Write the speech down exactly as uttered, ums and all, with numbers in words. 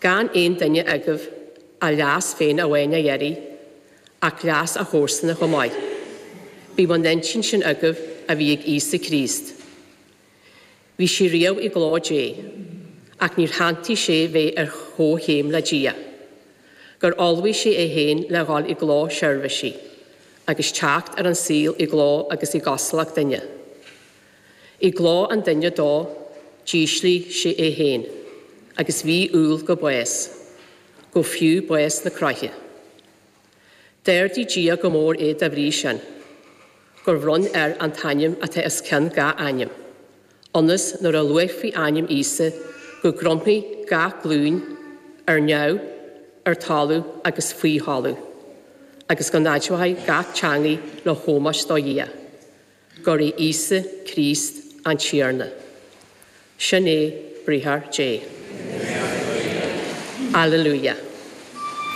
Gan aon duine agaibh a leas féin amháin a iarraidh, ach leas a chomharsana chomh maith. Bíodh an intinn sin agaibh a bhí ag Íosa Críost. Bhí sé riamh i gcló Dé, ach níor shantaigh sé bheith ar chomhchéim le Dia, gur ullmhaigh sé é féin le dhul i gcló seirbhísigh, agus teacht ar an saol i gcló agus i gcosúlacht duine. I gcló an duine dó, d'ísligh sé é féin, agus bhí umhal go bás, go fiú bás na croiche. D'ardaigh Dia go mór é dá bhrí sin, gur bhronn air an t-ainm atá os cionn gach ainm, ionas nuair a luafaí ainm Íosa go gcromfaidh gach glúin ar neamh, ar talamh agus faoi thalamh, agus go n-admhóidh gach teanga le hómós do Dhia, gur é Íosa Críost an Tiarna. Sin é briathar Dé. Alleluia.